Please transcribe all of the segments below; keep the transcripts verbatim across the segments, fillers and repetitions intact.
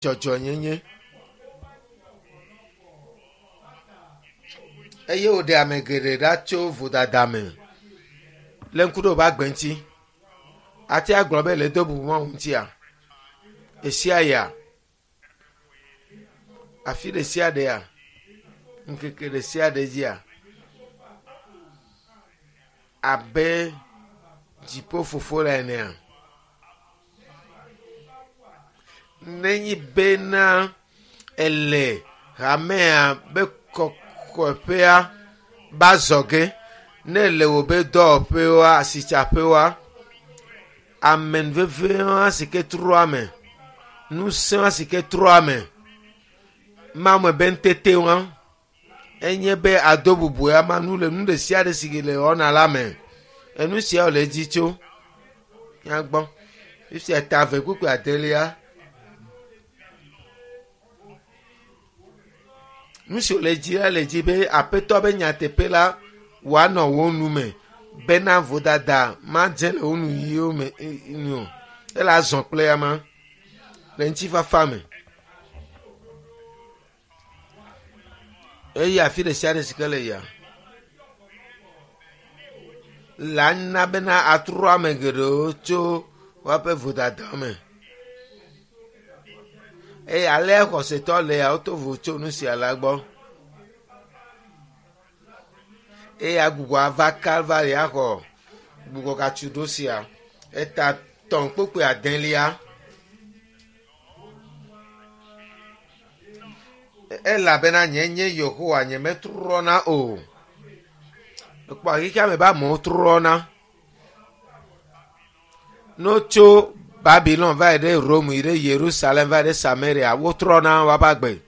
Dzɔdzɔnyenye eye wòɖe ame geɖe ɖa tso vodada me le ŋku ɖe woƒe agbe ŋuti. Ate agblɔ be le do bubu Mawu ŋutia? Esia ya? Afi ɖe sia ɖea? Ŋkeke ɖe sia ɖe dzia? Abe dziƒofofo la enea? Nenye bena ele hamea be kɔkɔƒea ba zɔge, ne le wò be dɔwɔƒewoa, asitsaƒewoa, amenuvevewa si ke trɔa me, ŋusẽa si ke trɔa me, Mawu be ŋutetewa, enye be ado bubu ya ma nu le nu ɖe sia ɖe si le wɔna la me. Enu sia le edzi tso míagbɔ. Fifia ta eve kpukpui adelia. Nu si wòle dzi la le dzi be aƒetɔ be nyateƒe la wòanɔ wo nu me bena vodada madze le wo nu yiwo me nu o. Ele azɔ kple ama le ŋutifafa me. Eye afi ɖe sia ɖe si ke le yia la na bena atrɔ ame geɖewo tso woaƒe vodada me. Eye alea xɔsetɔ le ya woto vo tso nu sia la gbɔ. Eye agbugbɔ ava Kalvari axɔ gbugbɔ gatsu ɖo sia. Eta tɔ̃ kpukpui adelia. Elabena nye nye Yehowa nye metrɔna o. Ekpɔ xexea me be amewo trɔna. Ne wotso Babylon va yi ɖe Rome yi ɖe Yerusalem va yi ɖe Samaria, wotrɔna woaƒe agbe.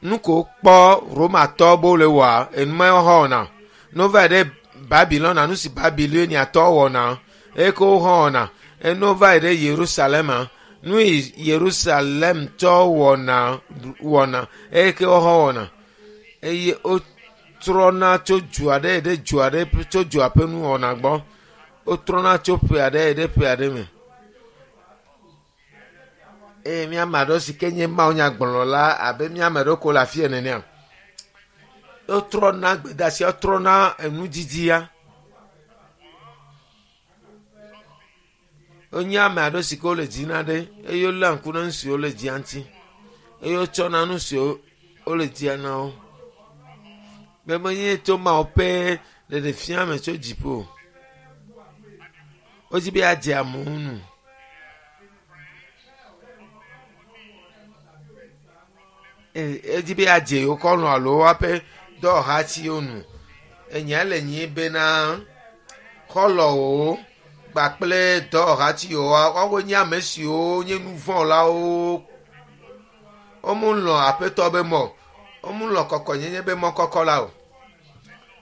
Nu ko wokpɔ Romatɔwo be wole wɔa, enuma wohã wɔna. Ne wova yi ɖe Babylon, nu si Babiloniatɔwo wɔna, eye ke wohã wɔna. Ene wova yi ɖe Yerusalema, nu yi Yerusalemtɔwo wɔna wɔna eye ke wohã wɔna. Eye wotrɔna tso du aɖe yi ɖe du aɖe tso dua ƒe nuwɔna gbɔ. Wotrɔna tso ƒe aɖe yi ɖe ƒe aɖe me. Eye míame aɖewo si ke nye Mawu nyagblɔla abe míame ɖewo ko le afi ene nenea. Wotrɔna gbedeasia, wotrɔna enudidia. Wonye ame aɖewo si ke wole dzi na ɖe eye woléa ŋku ɖe nu siwo wole dzia ŋuti eye wotsɔna nu siwo wole dzia na wo. Be menye tso Mawu ƒe ɖeɖefia me tso dziƒo o. Wodzi be yeadze amewo nu. Edzi be yeadze yewo xɔlɔ̃ alo woaƒe dɔwɔhatiwo nu. Enya le nyi bena xɔlɔ̃wo kpakple dɔwɔhatiwo woawoe nye ame siwo nye nuvɔ̃lawo. Womelɔ̃ aƒetɔ be mɔ o. Womelɔ̃ kɔkɔenyenye be mɔ kɔkɔ la o.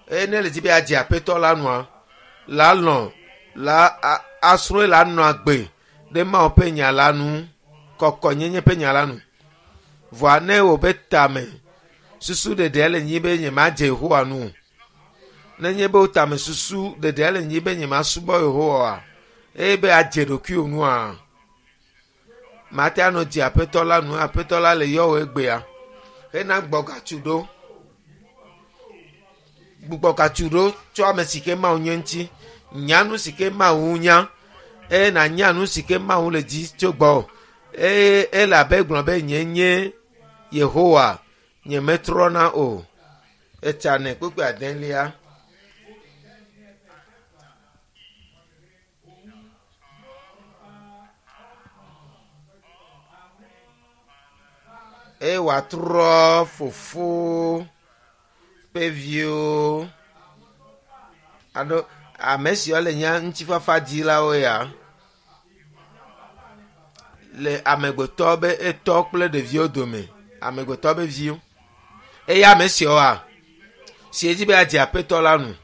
Eye ne le dzi be yeadze aƒetɔ la nua, la lɔ̃ la asrɔ̃e la nɔ agbe ɖe Mawu ƒe nya la nu, kɔkɔenyenye ƒe nya la nu. Vɔa ne wò be tame susu ɖeɖea le nyi be nyemadze Yehowa nu o. Nenye be wò tame susu ɖeɖea le nyi be nyemasubɔ Yehowa oa, eye be adze ɖokuiwò nua, mate anɔ dze aƒetɔ la nu. Aƒetɔ la le yɔ wò egbea hena gbɔgatsu ɖo. Gbugbɔgatsu ɖo tso ame si ke Mawu nye ŋuti. Nya nu si ke Mawu nya eye nànya nu si ke Mawu le dzi tso gbɔwò. Eye ele abe gblɔ be nye nye Yehowa nyemetrɔna o. Etsanɛ kpukpui adelia. Eye wòatrɔ fofo ƒe viwo alo ame siwo le nye ŋutifafa dilawo ya le amegbetɔ be etɔ kple ɖeviwo dome. Amegbetɔ be viwo. Eye ame siawoa, si dzi be yeadze aƒetɔ la nu,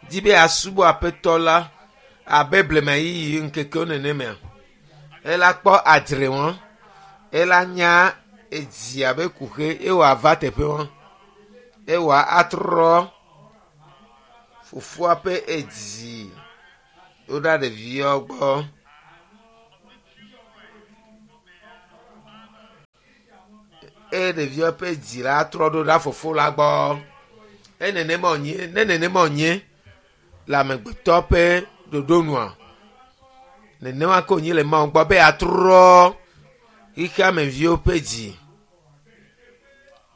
dzi be yeasubɔ aƒetɔ la abe blema ɣeyiɣi ŋkekewo nenemea, ela kpɔ adzre wɔn, ela nya edzi abe kuxe eye wòava teƒe wɔn, eye wòatrɔ fofoa ƒe edzi ɖo ɖa ɖeviawo gbɔ. Eye ɖeviwo ƒe dzi la trɔ ɖo ɖa fofo la gbɔ. E nenema wònye, ne nenema wònye le amegbetɔ ƒe ɖoɖo nua, nenema ke wònye le Mawu gbɔ be yeatrɔ xexeameviwo ƒe dzi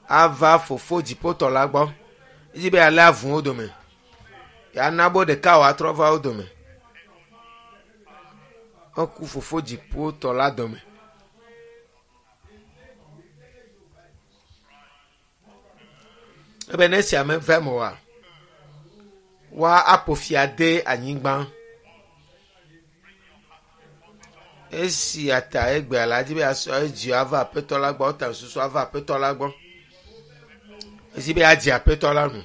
ava fofo dziƒotɔ la gbɔ. Edzi be yealé avu wo dome. Yeana be ɖeka wòatrɔ va wo dome. Eku fofo dziƒotɔ la dome. Ebe ne esia meva eme oa, woa aƒo fia de anyigba. Esia ta egbea la dzi be yeasɔ edzi ava aƒetɔ la gbɔ, ta susu ava aƒetɔ la gbɔ. Edzi be yeadze aƒetɔ la nu.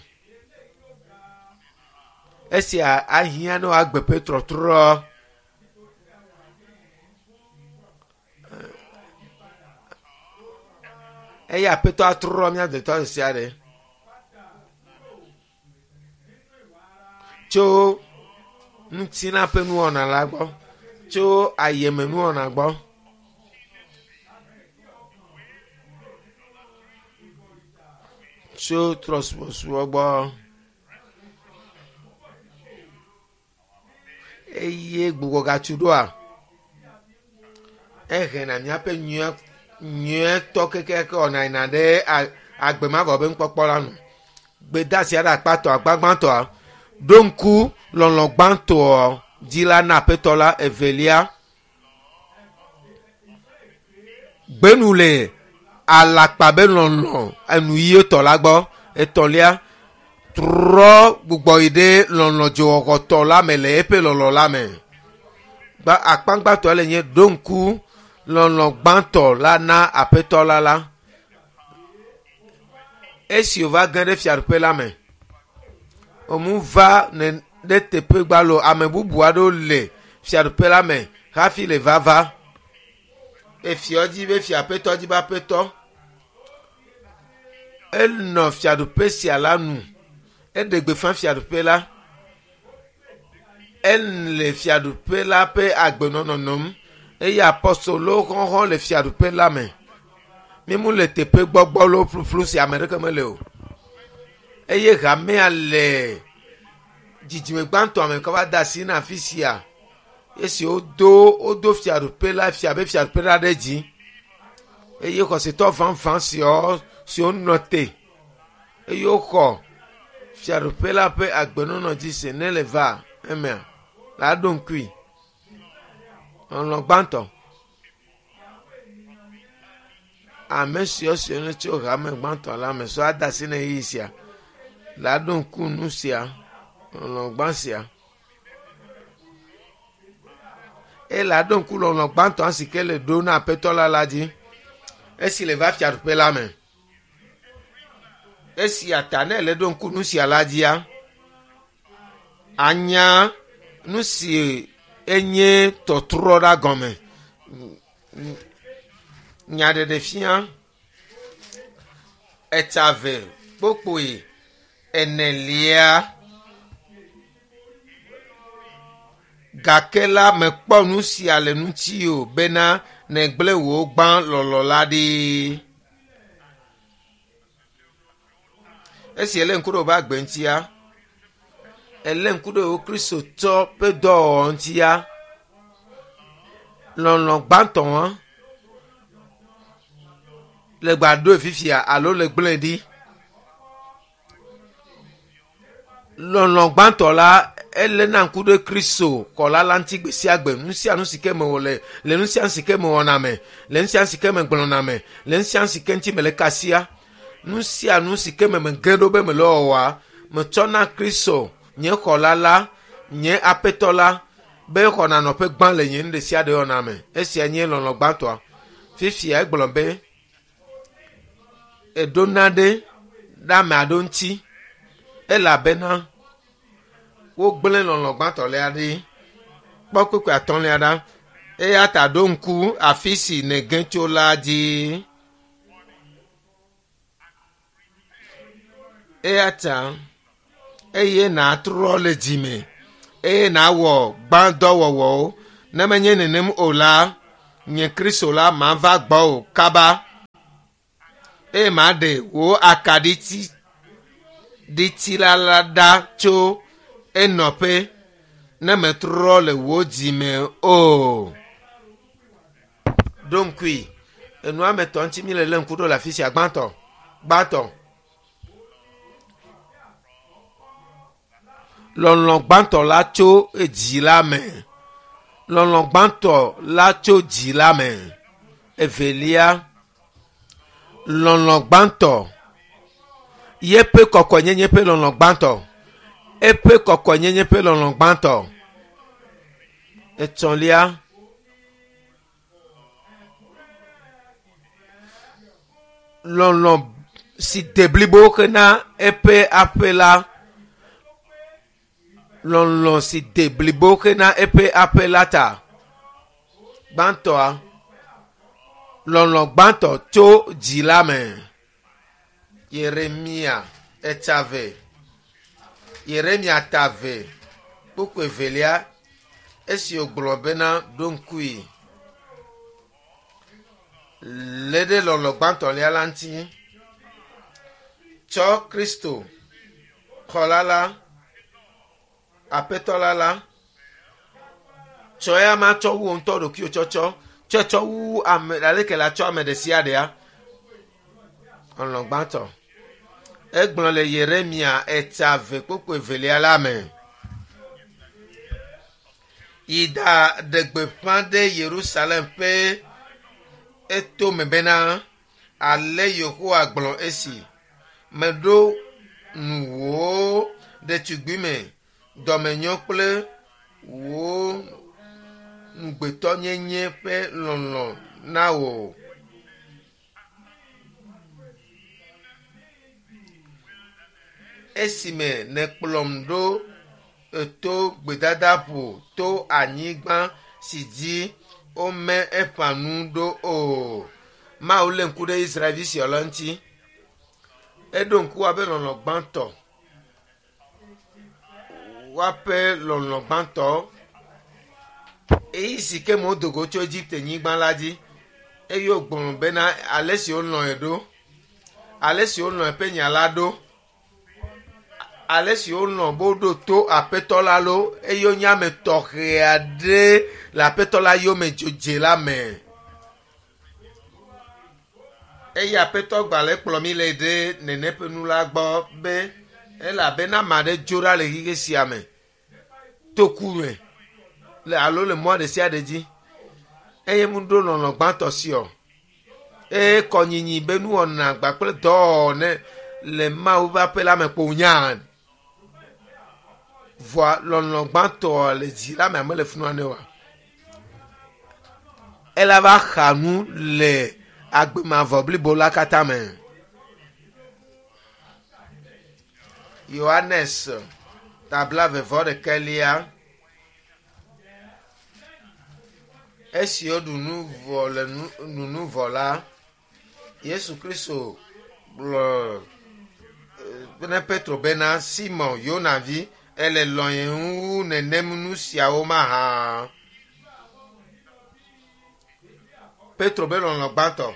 Esia ahiã ne woagbe ƒe trɔtrɔ. Eye aƒetɔ atrɔ mía dometɔ ɖe sia ɖe. Tso ŋutilã ƒe nuwɔna la gbɔ, tso ayeme nuwɔna gbɔ. Tso trɔsubɔsubɔ gbɔ. Eye gbugbɔgatsu ɖoa, ehena míaƒe nyuie nyuietɔ kekeake wɔna yina ɖe agbe mavɔ be nukpɔkpɔ la nu. Gbedeasi aɖe akpatɔa gbagbãtɔa ɖo ŋku lɔlɔ gbãtɔ dzi la na aƒetɔ la evelia. Gbenu le alakpa be lɔlɔ enu yiyetɔ la gbɔ. Etɔ̃lia, trɔ gbugbɔ yi ɖe lɔlɔ dzowɔwɔtɔ la me le eƒe lɔlɔ la me. Gba akpagbãtɔ le nye ɖo ŋku lɔlɔ gbãtɔ la na aƒetɔ la la. Esi wòva ge ɖe fiaɖuƒe la me, wòmu va ne ɖe teƒe gbalo ame bubu aɖewo le fiaɖuƒe la me hafi le vava. Efiɔ dzi be fia aƒetɔ dzi be aƒetɔ. Enɔ fiaɖuƒe sia la nu. Eɖe gbeƒã fiaɖuƒe la. Ele fiaɖuƒe la ƒe agbenɔnɔ nɔm eye apɔstolowo xɔxɔ le fiaɖuƒe la me. Mímu le teƒe gbɔgbɔlo ƒuƒlu si ame ɖeke mele o. Eye hamea le dzidzime gbãtɔ me kɔ va de asi na afi sia. Esi wodo wodo fiaɖuƒe la fia be fiaɖuƒe la ɖe dzi. Eye xɔsetɔ vavã siawo siwo nɔ te eye woxɔ fiaɖuƒe la ƒe agbenɔnɔ dzi se ne le va emea la ɖo ŋkui. Lɔlɔ gbãtɔ. Ame siwo siwo ne tso hame gbãtɔ la me sɔ ade asi na ɣeyiɣi sia la ɖo ŋku nu sia lɔlɔ gbã sia. Eye la ɖo ŋku lɔlɔ gbãtɔ si ke le ɖo na aƒetɔ la la dzi. Esi le va fiaɖuƒe la me. Esia ta ne le ɖo ŋku nu sia la dzia, anya nu si enye tɔtrɔ ɖa gɔme. Nyaɖeɖefia etsave kpokpoe enelia. Gake la mekpɔ nu sia le ŋuti o bena nègblẽ wò gbã lɔlɔ la ɖi. Esi elé ŋku ɖe wòƒe agbe ŋutia, elé ŋku ɖe wò Kristotɔ ƒe dɔwɔwɔ ŋutia, lɔlɔ gbãtɔ hã le gba ɖoe fifia alo le gblẽe ɖi. Lɔlɔ gbãtɔ la eléna ŋku ɖe Kristo xɔla la ŋuti gbe sia gbe. Nu sia nu si ke me wòle, le nu sia nu si ke me wɔna me, le nu sia nu si ke me gblɔna me, le nu sia nu si ke ŋuti mele kasia, nu sia nu si ke me mege ɖo be mele wɔwɔa, metsɔna Kristo nye xɔla la, nye aƒetɔ la, be xɔna nɔƒe gbã le nye nu ɖe sia ɖe wɔna me. Esia nye lɔlɔ gbãtɔa. Fifia egblɔ be eɖona ɖe ɖe ame aɖewo ŋuti elabena wogblẽ lɔlɔ gbãtɔ lia ɖi. Kpɔ kpukpui atɔ̃lia ɖa. Eya ta ɖo ŋku afi si nège tso la dzi. Eya ta eye nàtrɔ le dzime eye nàwɔ gbãdɔwɔwɔwo. Ne menye nenem o la, nye Kristo la mava gbɔwò kaba. Eye maɖe wò akaɖiti ɖiti la la ɖa tso enɔƒe ne metrɔ le wò dzime o. Ɖo ŋkui enua me tɔ ŋuti mi le lé ŋku ɖo le afi sia gbãtɔ gbãtɔ. Lɔlɔ gbãtɔ la tso edzi la me. Lɔlɔ gbãtɔ la tso dzi la me. Evelia, lɔlɔ gbãtɔ yeƒe kɔkɔenyenye ƒe lɔlɔ gbãtɔ. Eƒe kɔkɔenyenye ƒe lɔlɔ gbãtɔ. Etɔ̃lia, lɔlɔ si de blibo hena eƒe aƒe la. Lɔlɔ si de blibo hena eƒe aƒe la ta. Gbãtɔa, lɔlɔ gbãtɔ tso dzi la me. Yeremia eta ve. Yeremia ta ve. Kpukpui evelia, esi wògblɔ bena ɖo ŋkui lé ɖe lɔlɔ gbãtɔlia la ŋuti. Tsɔ Kristo xɔla la, aƒetɔ la la, tsɔ ya ma tsɔ wu ŋutɔ ɖokuiwò tsɔtsɔ, tsɔe tsɔ wu ame aleke la tsɔ ame ɖe sia ɖea. Lɔlɔ gbãtɔ. Egblɔ le Yeremia eta ve kpukpui evelia la me. Yi da ɖe gbeƒã ɖe Yerusalem ƒe etome bena ale Yehowa gblɔ esi meɖo nuwò ɖetugbime dɔmenyo kple wò ŋugbetɔnyenye ƒe lɔlɔ na wò. Esime nèkplɔm ɖo to gbedadaƒo to anyigba si dzi wome eƒã nu ɖo o. Mawu lé ŋku ɖe Israelvi siawo la ŋuti. Eɖo ŋku woaƒe lɔlɔ gbãtɔ. Woaƒe lɔlɔ gbãtɔ. Eyi si ke me wodo go tso Egipte nyigba la dzi eye wògblɔ bena ale si wolɔ̃e ɖo, ale si wolɔ̃ eƒe nya la ɖo, ale si wolɔ̃ be woɖo to aƒetɔ la lo eye wonye ame tɔxɛ aɖe le aƒetɔ la yome dzodze la me. Eye aƒetɔ gbalẽ kplɔ mi le ɖe nene ƒe nu la gbɔ be elabena ame aɖe dzo ɖa le xexe sia me to ku me le alo le mɔ ɖe sia ɖe dzi eye mu ɖo lɔlɔ gbãtɔ si o. Eye kɔnyinyi be nuwɔna gba kple dɔwɔwɔ ne le Mawu ƒe aƒe la me kpo nya. Vɔa lɔlɔ gbãtɔ le dzi la me ame le funua ne oa. Ela va xa nu le agbemavɔ blibo la katã me. Yohanes tabla vevɔ ɖekɛlia. Esi woɖu nu vɔ le nu nunu vɔ la, Yesu Kristo gblɔ ne Petro bena Simon Yona vi ele lɔ̃ wu nenem nu siawo mahã. Petro be lɔlɔ gbãtɔ.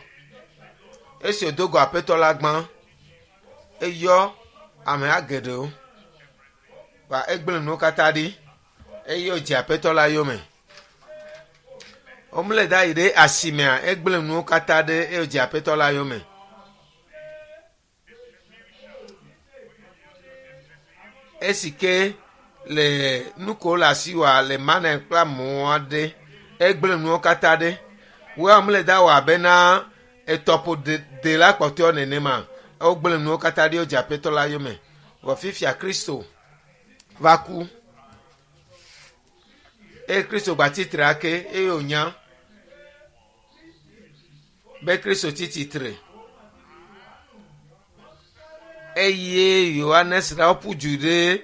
Esi wòdo go aƒetɔ la gbã, eyɔ ameha geɖewo va egblẽ nuwo katã ɖi eye wòdze aƒetɔ la yome. Womle da yi ɖe asimea egblẽ nuwo katã ɖe eye wòdze aƒetɔ la yome. Esi ke le nu ko le asiwòa le mane kple amewo aɖe egblẽ nuwo katã ɖe. Woa mle da wɔ abena etɔƒo de, de la kpɔtɔewo nenema. Wogblẽ nuwo katã ɖi wodze aƒetɔ la yome. Vɔ fifia Kristo va ku. Eye Kristo gba tsitre ake eye wònya be Kristo tsi tsitre. Eye Yohanes la woƒu du ɖe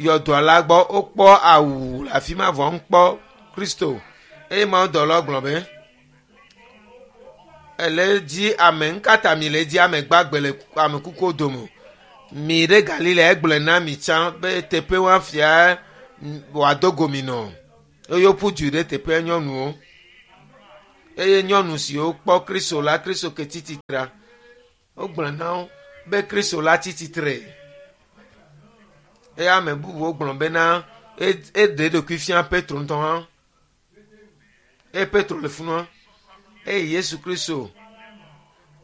yɔdoa la gbɔ wokpɔ awu le afi ma vɔ ŋkpɔ Kristo. Eye mawudɔlawo gblɔ be ele dzi ame ŋkata mi le dzi ame gbagbe le ame kukuwo dome. Mi ɖe Galilea egblɔe na mi tsã be teƒe woafia wòado go mi nɔ. Eye woƒu du ɖe teƒea nyɔnuwo. Eye nyɔnu siwo kpɔ Kristo la, Kristo ke tsi tsitrea, Wogblɔ na wo be Kristo la tsi tsitre. Eye ame bubuwo gblɔ bena eɖe eɖokui fia Petro ŋutɔ hã. Eye Petro le funua. Eye Yesu Kristo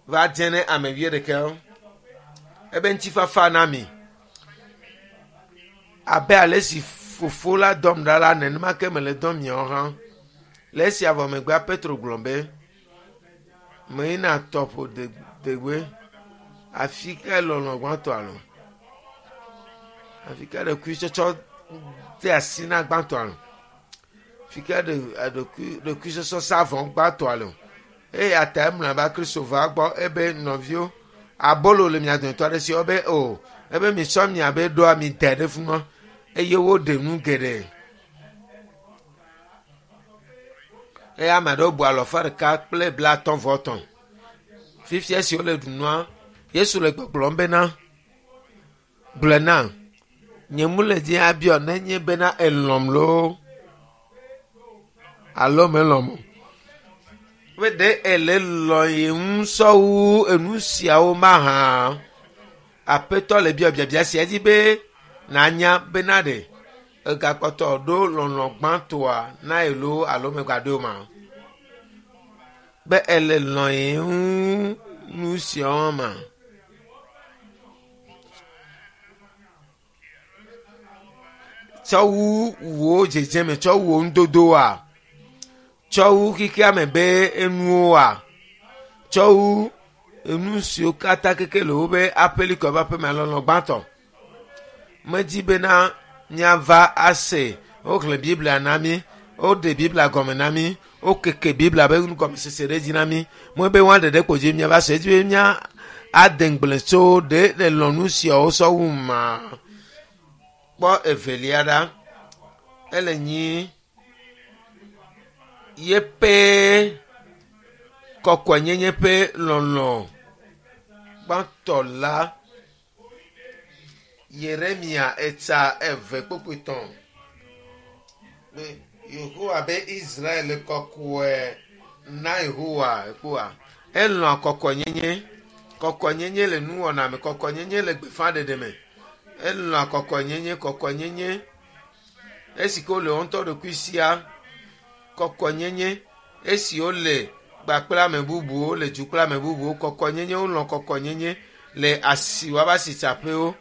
va dze ne ame wuiɖekɛwo. Ebe ŋutifafa na mi. Abe ale si fofo la dɔm ɖa la, nenema ke mele dɔm miawo hã. Le esia vɔ megbea Petro gblɔ be, meyina tɔƒo degbe. Afi ka lɔlɔ gbãtɔ alo? Afi ka ɖokuitsɔtsɔ de asi na gbãtɔ alo? Afi ka ɖokuitsɔtsɔ sa vɔ gbãtɔ alo? Eya ta emlɔeba Kristo va gbɔ ebe nɔviwo abolo le mia dometɔ aɖe si wobe o ebe mitsɔ miabe ɖoa mi da ɖe funua eye woɖe nu geɖe. Eye ame aɖewo bu alɔfa ɖeka kple blaatɔ̃ vɔ etɔ̃. Fifia esi wole ɖu nua, Yesu le gbɔgblɔm bena, gblɔe na, nye mu le dzi abiɔ nenye bena elɔ̃m loo alo melɔ̃m o. Be ɖe ele lɔ̃ ye ŋu sɔwu enu siawo mahã. Aƒetɔ le biɔ biabia sia dzi be nanya bena ɖe egakpɔtɔ ɖo lɔlɔ̃ gbãtɔa na ye loo alo megaɖoe o ma. Be ele lɔ̃ ye ŋu nu siawo ma. Tsɔ wu wò dzedzeme, tsɔ wu wò nudodoa, tsɔ wu xexea me be enuwoa, tsɔ wu enu siwo katã keke le wobe aƒelikɔ ƒe aƒeme lɔlɔ̃ gbãtɔ. Medzi bena míava ase woxlẽ Biblia na mí, woɖe Biblia gɔme na mí, wokeke Biblia be nugɔmesese ɖe dzi na mí. Mɔ be woa ɖeɖe kpo dzi míava se edzi be mía ade ŋugble tso ɖe le lɔ̃ nu siawo sɔ wu ma. Kpɔ evelia ɖa, ele nyi yeƒe kɔkɔenyenye ƒe lɔlɔ̃ gbãtɔ la. Yeremia etsa eve kpokpoe tɔ̃. Be Yehowa be Israel kɔkɔe na Yehowa ekpoa. Elɔ̃a kɔkɔenyenye. Kɔkɔenyenye le nuwɔna me, kɔkɔenyenye le gbeƒãɖeɖe me. Elɔ̃a kɔkɔenyenye, kɔkɔenyenye. Esi ke wole wo ŋutɔ ɖokui sia, kɔkɔenyenye. Esi wole kpakple ame bubuwo, le du kple ame bubuwo, kɔkɔenyenye, wolɔ̃ kɔkɔenyenye le asi woabe asitsaƒewo.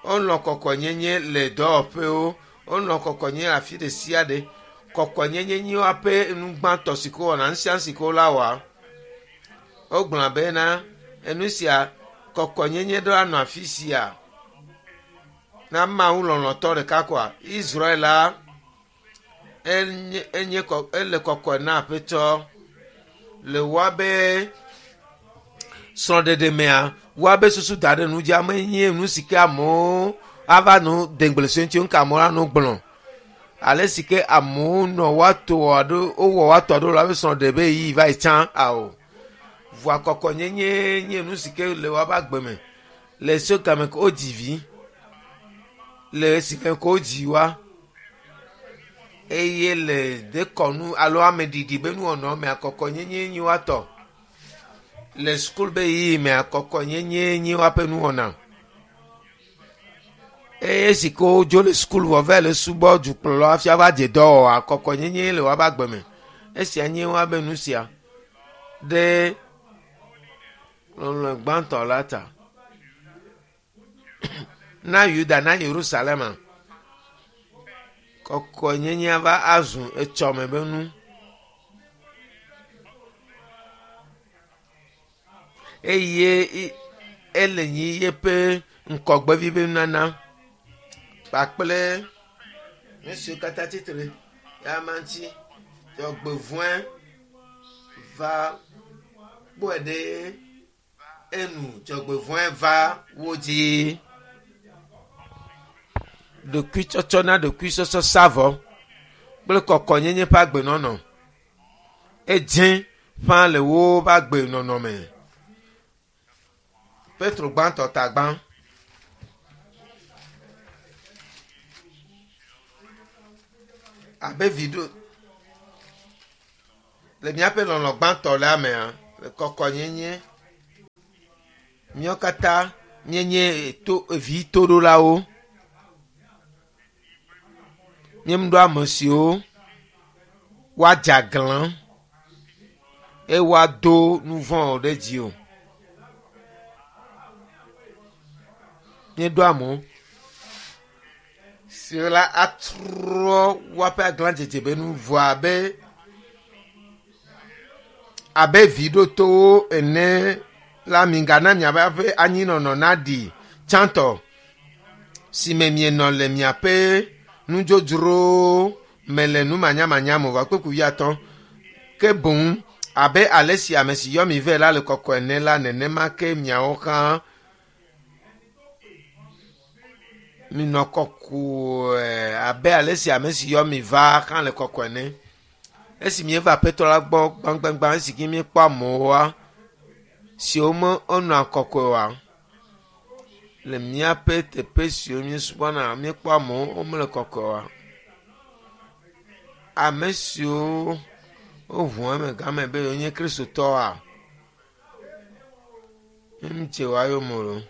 Wolɔ̃ kɔkɔenyenye le dɔwɔƒewo. Wolɔ̃ kɔkɔenyenye le afi ɖe sia ɖe. Kɔkɔenyenye nye woaƒe nu gbãtɔ si ke wowɔna, nu sia nu si ke wola wɔa. Wogblɔ bena enu sia kɔkɔenyenye ɖo anɔ afi sia. Na Mawu lɔlɔ̃tɔ ɖeka koa, Israel la enye, enye kɔ, ele kɔkɔe na Aƒetɔ le woabe srɔ̃ɖeɖe mea, woabe susu da ɖe nu dzi ame nye nu si ke amewo ava nu de ŋugble so ŋuti ŋka amewo anɔ gblɔ. Ale si ke amewo nɔ woato aɖo, wowɔ woato aɖo le woabe srɔ̃ɖeɖe be ɣeyiɣi va yi tsã ao. Vɔa kɔkɔenyenye nye nu si ke le woabe agbe me. Le so game ke wodzi vi, le esi ke wodzi wa, eye le dekɔnu alo ameɖiɖi be nuwɔnawo mea, kɔkɔenyenye nye woatɔ. Le sukulu be ɣeyiɣi mea, kɔkɔenyenye nye woaƒe nuwɔna. Eye esi ke wodzo le sukulu vɔ va le subɔ dukplɔlawo hafi ava dze dɔwɔwɔa, kɔkɔenyenye le woabe agbe me. Esia nye woabe nu sia ɖe lɔlɔ̃ gbãtɔ la ta. Na Yuda, na Yerusalema, kɔkɔenyenye va azu etsɔme be nu. Eye ele nyi yeƒe ŋkɔgbevi be nunana kpakple nu siwo katã tsitre ya ma ŋuti. Dzɔgbevɔ̃e va kpɔe ɖe enu. Dzɔgbevɔ̃e va wo dzi. Ɖokuitsɔtsɔ na ɖokuitsɔtsɔ sa vɔ kple kɔkɔenyenye ƒe agbenɔnɔ. Edze ƒã le woƒe agbenɔnɔ me. Petro gbãtɔ ta gbã. Abe vi ɖo le míaƒe lɔlɔ̃ gbãtɔ la mea, le kɔkɔenyenye. Míawo katã míenye to vi toɖolawo. Míeɖo ame siwo woadze aglã eye woado nu vɔ̃ ɖe dzi o. Míeɖo amewo siwo la atrɔ woaƒe aglãdzedze be nu vɔa abe abe vi ɖotowo ene la migana miaƒe anyinɔnɔ naɖi tsãtɔ si me mienɔ le miaƒe nudzodzrowo me le numanyamanya me o. Kpukpui wuiatɔ̃. Ke boŋ abe ale si ame si yɔ mi vɛ la le kɔkɔe ene la nenema ke miawo hã minɔ kɔkɔe abe ale si ame si yɔ mi va hã le kɔkɔe ene. Esi míeva Aƒetɔ la gbɔ gbãgbãgbã esi ke míekpɔ amewoa siwo me wonɔa kɔkɔe oa le míaƒe teƒe siwo míesubɔna míekpɔ amewo womele kɔkɔe oa. Ame siwo woʋu eme game be yewonye kristotɔwoa mímedze woa yome o.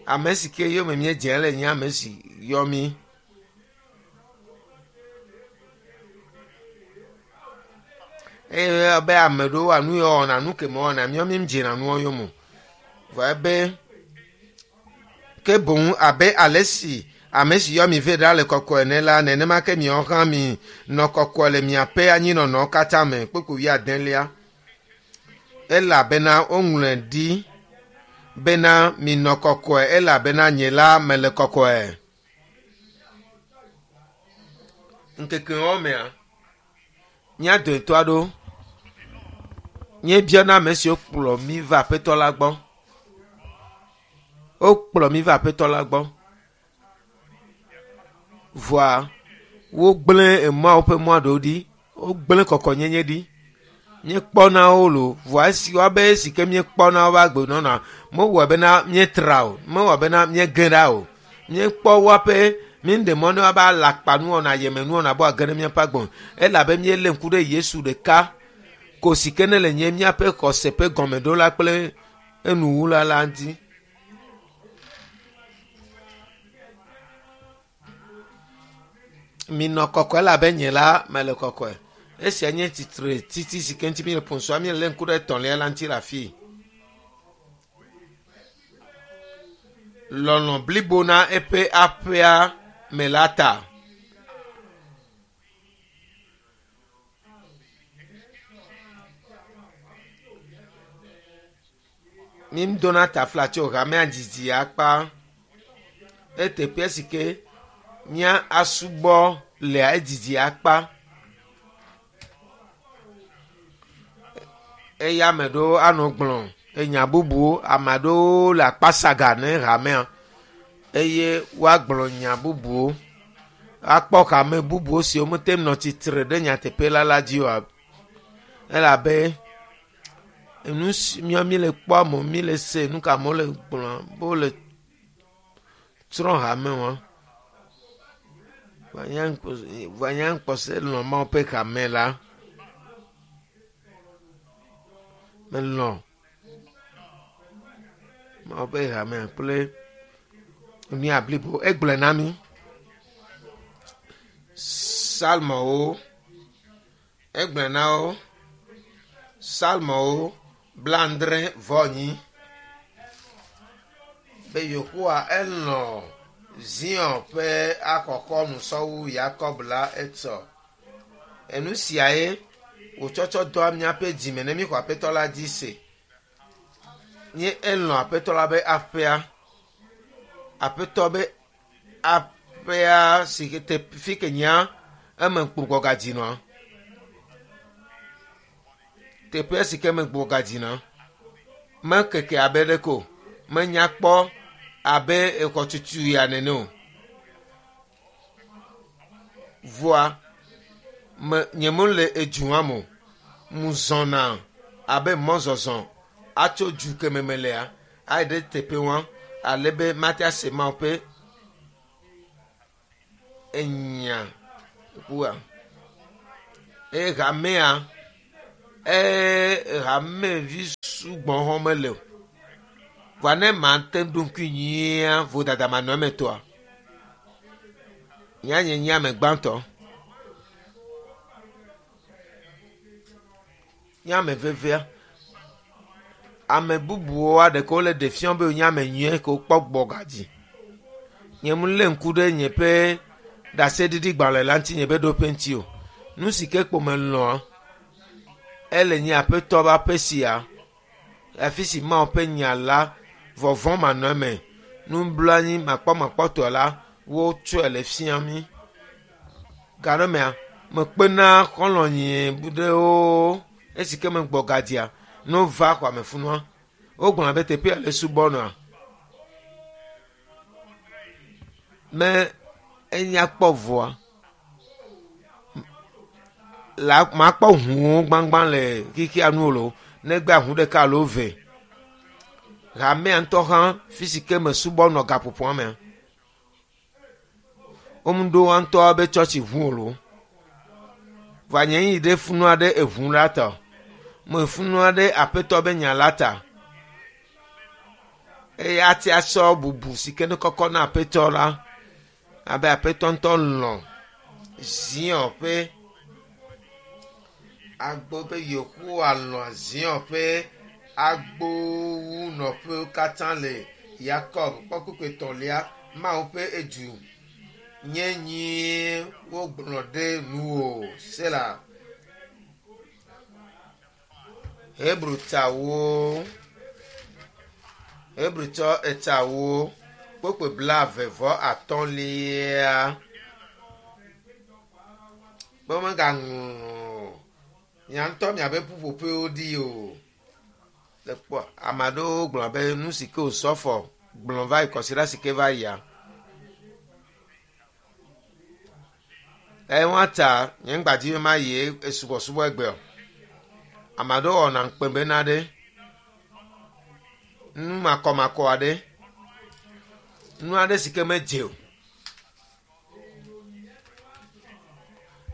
Ame si ke yome míedze le nye ame si yɔ mí. Eye be ame ɖewoa nu ya wɔna nu ke mewɔna míawo míedzena nua yome o. Vɔ ebe ke boŋ abe ale si ame si yɔ mi vɛ ɖa le kɔkɔe ene la nenema ke miawo hã mi nɔ kɔkɔe le miaƒe anyinɔnɔ katã me. Kpukpui wuiadelia. Elabena woŋlɔe ɖi bena minɔ kɔkɔe elabena nye la mele kɔkɔe. Ŋkekewo mea mía dometɔ aɖewo míebiana ame siwo kplɔ mí va Aƒetɔ la gbɔ. Wokplɔ mí va Aƒetɔ la gbɔ. Vɔa wogblẽ emɔawo ƒe mɔ aɖewo ɖi. Wogblẽ kɔkɔnyenye ɖi. Míekpɔna wo loo vɔa esi woabe esi ke míekpɔna woƒe agbenɔnɔa mewɔ bena míetra o, mewɔ bena míege ɖa o. Míekpɔ woaƒe míeɖe mɔ ne woabe alakpanuwɔna, ayemenuwɔna be woage ɖe míaƒe agbe me elabe míelé ŋku ɖe Yesu ɖeka ko si ke ne le nye míaƒe xɔse ƒe gɔmeɖola kple enuwula la ŋuti. Minɔ kɔkɔe elabe nye la mele kɔkɔe. Esia nye tsitre titi si ke ŋuti míele ƒom sɔa míelé ŋku ɖe etɔ̃lia la ŋuti le afii. Lɔlɔ̃ blibo na eƒe aƒea me la ta. Mídona tafla tso hamea didi akpa eteƒe si ke mía asubɔ lea edidi akpa. Eye ame ɖewo anɔ gblɔ enya bubuwo ame aɖewo le akpasaga ne hamea eye woagblɔ nya bubuwo. Akpɔ hame bubuwo siwo mete nɔ tsitre ɖe nyateƒe la la dzi oa. Elabe nu si míawo míele kpɔ amewo míele se nu ka amewo le gblɔ be wole trɔ hame wa. Vɔa nye ŋkpɔse lɔ̃ Mawu ƒe hame la. Melɔ̃ Mawu ƒe hamea kple nu blibo. Egblɔe na mí. Psalmowo egblɔe na wo. Psalmowo blaadre vɔ enyi. Be Yehowa elɔ̃ Zion ƒe akɔkɔnu sɔwu Yakob la etsɔ. Enu siae wòtsɔtsɔ doa míaƒe dzime ne míxɔ Aƒetɔ la dzi se. Nye elɔ̃ Aƒetɔ la be aƒea. Aƒetɔ be aƒea si ke te fi ke nyea eme gbugbɔgadzinɔa. Teƒea si ke me gbugbɔgadzinɔa mekeke abe ɖeke o. Menya kpɔ abe exɔtutu ya nene o. Vɔa me nye mele edua me o. Muzɔna abe mɔzɔzɔ atso du ke me melea ayi ɖe teƒe wa ale be mate ase Mawu ƒe enya kua. Eye hamea eye hamevi sugbɔ hã mele o. Vɔa ne mate ŋu ɖo ŋkui nyuia vodada manɔ eme tɔa, nya nye nye ame gbãtɔ. Nye ame vevea. Ame bubuwo aɖeke wole ɖe fiam be wonye ame nyuie ke wokpɔ gbɔ gadzi. Nye mu lé ŋku ɖe nye ƒe ɖaseɖiɖigbalẽ la ŋuti nye ƒe ɖoƒe ŋuti o. Nu si ke kpo melɔ̃a, ele nye aƒetɔ ƒe aƒe sia, afi si Mawu ƒe nya la vɔvɔ̃ manɔ eme, nublanui makpɔmakpɔtɔ la wotsɔe le fia mí. Gaɖomea, mekpena xɔlɔ̃nye ɖewo esi ke megbɔ gadzia, ne wova xɔame funua, wogblɔna be teƒea le subɔnɔa. Me enya kpɔ vɔa, la makpɔ ʋuwo gbãgbã le xexea nu o lo, negbe aʋu ɖeka alo eve. Hamea ŋutɔ hã fi si ke mesubɔ nɔ gaƒoƒoa mea, womeɖo woa ŋutɔ be tsɔtsi ʋu o lo. Vɔa nye yi ɖe funua ɖe eʋu la ta o. Mefunua ɖe aƒetɔ be nya la ta. Eye ate asɔ bubu si ke ne kɔkɔ na aƒetɔ la, abe aƒetɔ ŋutɔ lɔ̃ Zion ƒe agbo be Yehowa lɔ̃ Zion ƒe agbowunɔƒewo katã le Yakob kpɔ etɔ̃lia Mawu ƒe edu nye nyuie wogblɔ ɖe nuwò sela. Hebritawo Hebritɔ etawo kpokpo blaeve vɔ atɔ̃lia be womegaŋlɔ mia ŋutɔ miaƒe ƒuƒoƒewo ɖi o. Le kpɔ ame aɖewo gblɔ be nu si ke wòsɔfɔ gblɔ va yi kɔsiɖa si ke va yia. Eye wɔa ta nye ŋgbadzi be mayi esubɔsubɔ egbe o. Ame aɖewo wɔna ŋukpe bena ɖe nu makɔmakɔ aɖe, nu aɖe si ke medze o.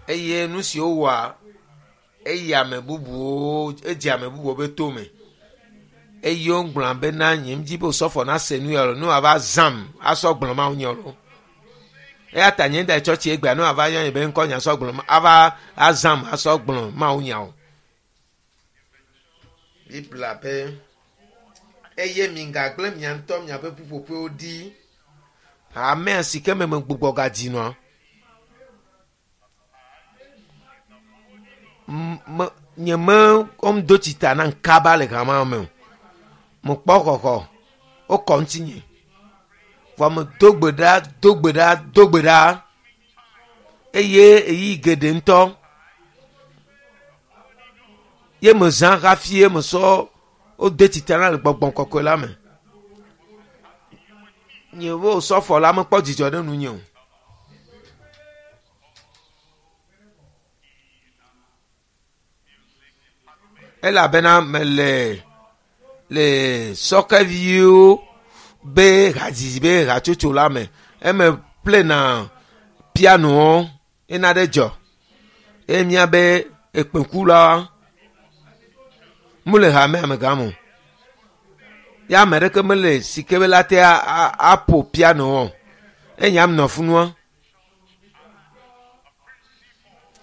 Eye nu si wowɔa eyi ame bubuwo edze ame bubuwo be tome. Eye wogblɔna bena nye ŋdi be wòsɔfɔ nase nu ya o, ne wòava zãm asɔ gblɔ Mawu nya o. Eya ta nye da tsɔtsi egbea ne wòava yɔ nye be ŋkɔ nya sɔ gblɔ ava azãm asɔ gblɔ Mawu nya o. Biblia be eye migagblẽ mia ŋutɔ miaƒe ƒuƒoƒewo ɖi. Hamea si ke me megbugbɔ gadzi nɔa, me nye me wɔm do tsita nam kaba le hamea me o. Mekpɔ xɔxɔ, wokɔ ŋutinye. Vɔ medo gbe ɖa, do gbe ɖa, do gbe ɖa eye ɣeyiɣi geɖe ŋutɔ ye mezã hafi ye mesɔ wode tsita na le gbɔgbɔ kɔkɔe la me. Nye wo sɔfɔ la mekpɔ dzidzɔ ɖe nunye o. Elabena mele le sɔkeviwo be hadzidzi be hatsotso la me. Eme plena pianowo ena ɖe dzɔ. Eye míabe ekpẽkula mele hamea me gam o. Ya ame ɖeke mele si ke be la te aƒo piano o. Eye nyam nɔ funua.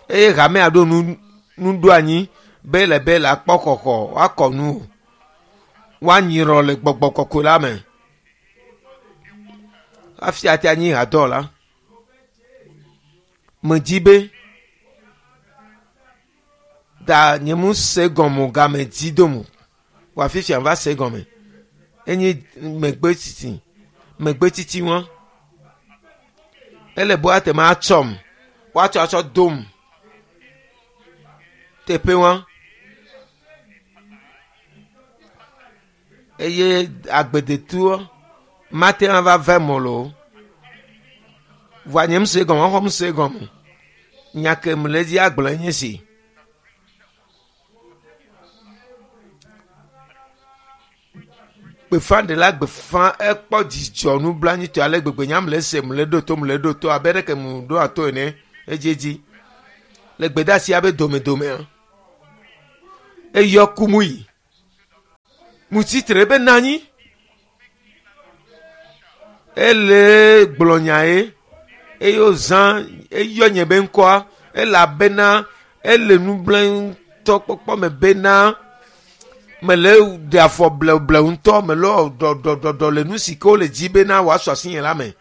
Eye hamea ɖo nu nuɖoanyi be le be la kpɔ xɔxɔ woakɔ nu o. Woanyirɔ le gbɔgbɔ kɔkɔe la me. Hafi ate anyi hadɔwɔla. Medzi be da nye mu se gɔme o game dzi dom o. Vɔa fifia va se gɔme. Enye megbe tsitsi megbe tsitsi wɔn. Ele be woate ma atsɔm woatsɔ atsɔ dom teƒe wɔn. Eye agbedetuɔ mate ŋu ava ve mɔ lo. Vɔa nye ŋu se gɔme xɔ ŋu se gɔme. Nya ke mele dzi agblɔ nye si. Gbeƒãɖela gbeƒã ekpɔ dzidzɔ nublanuitɔe ale gbegbe nya mele se mele ɖo to mele ɖo to abe ɖeke mu ɖo ato ene edziedzi. Le gbedeasia be domedomea, eyɔ kumu yi. Mutsitre be na anyi. Ele gblɔ nya ye eye wozã eyɔ nye be ŋkɔa elabena ele nublanui kpɔkpɔ me bena mele ɖe afɔ blewublewu ŋutɔ mele ɖɔɖɔɖɔɖɔ le nu si ke wole dzi bena wòasu asi nye la me.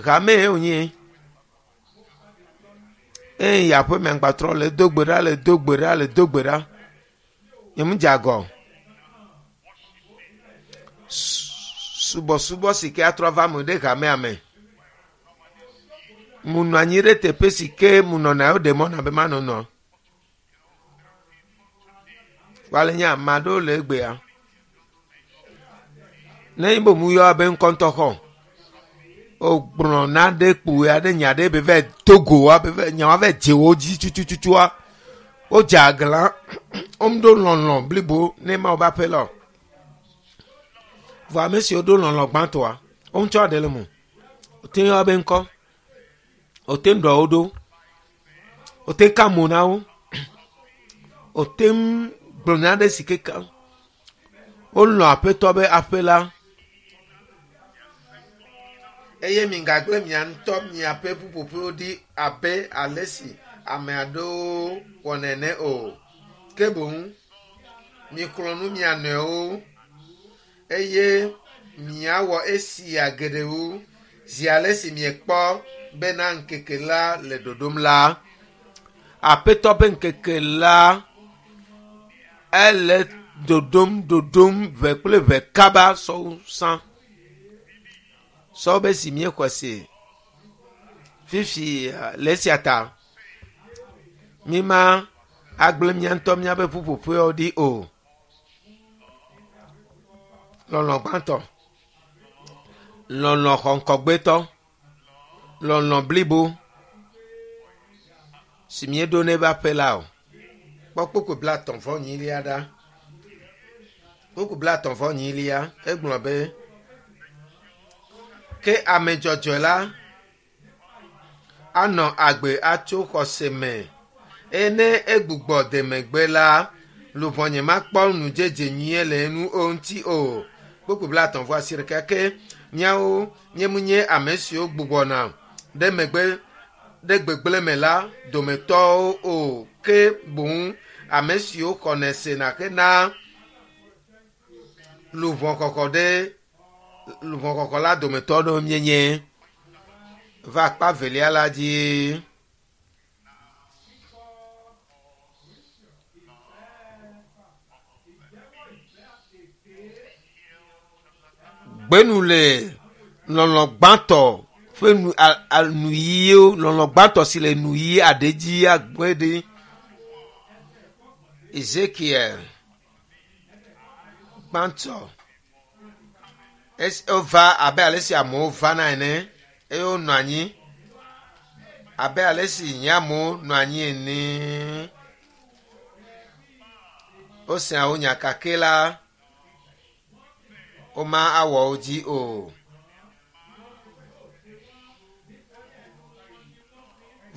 Hame ye wònye. Eye yi aƒeme ŋgbatrɔ le do gbe ɖa le do gbe ɖa le do gbe ɖa. Nye mu dze agɔ. Subɔsubɔ si ke atrɔ va me ɖe hamea me. Mu nɔ anyi ɖe teƒe si ke mu nɔna yewo ɖe mɔ na be manɔnɔ. Wale nye ame aɖewo le egbea. Ne be mu yɔ abe ŋkɔntɔ xɔ. Wogblɔ na ɖe kpoe aɖe nya ɖe be va do go wa be va nya wa va dze wo dzi tutututua. Wodze aglã. Womeɖo lɔlɔ blibo ne Mawu be aƒe la o. Vɔ ame siwo ɖo lɔlɔ gbãtɔa, wo ŋutɔ ɖe le mo. Wote yɔ abe ŋkɔ. Wote ɖɔ wo ɖo. Wote ka mo na wo. Wote gblɔ nya ɖe si ke ka. Wolɔ̃ aƒetɔ be aƒe la. Eye migagblẽ mia ŋutɔ miaƒe ƒuƒoƒewo ɖi abe ale si ame aɖewo wɔnɛ ene o. Ke boŋ miklɔ nu mia nɔewo eye miawɔ esia geɖe wu zi ale si miekpɔ bena ŋkeke la le ɖoɖom la. Aƒetɔ ƒe ŋkeke la ele ɖoɖom ɖoɖom ʋe kple ʋe kaba sɔwu sã. Sɔwo be si míexɔe se fifi le esia ta míma agblẽ mía ŋutɔ míaƒe ƒuƒoƒewo ɖi o. Lɔlɔ gbãtɔ, lɔlɔ xɔŋkɔgbetɔ, lɔlɔ blibo si míeɖo ne ƒe aƒe la o. Kpɔ kpukpui blaetɔ̃ vɔ enyilia ɖa. Kpukpui blaetɔ̃ vɔ enyilia egblɔ be ke ame dzɔdzɔe la anɔ agbe atso xɔse me eye ne egbugbɔ de megbe la, luʋɔnye makpɔ ŋudzedze nyuie le enu o ŋuti o. Kpukpui blaetɔ̃ vɔ asiɖeke ke míawo míemenye ame siwo gbugbɔna ɖe megbe ɖe gbegblẽ me la dometɔwo o ke boŋ ame siwo xɔnɛ sena hena luʋɔxɔxɔ ɖe luʋɔxɔxɔ la dometɔ ɖewo míenye. Va akpa velia la dzi. Gbenu le lɔlɔ gbãtɔ ƒe nu a, a, nuyiwo lɔlɔ gbãtɔ si le nuyi aɖe dzi agbe ɖi. Ezekiel gbãtɔ esi wova abe ale si amewo vana ene eye wonɔ anyi abe ale si nye amewo nɔ anyi ene. Wosea wo nya kake la woma awɔ wo dzi o.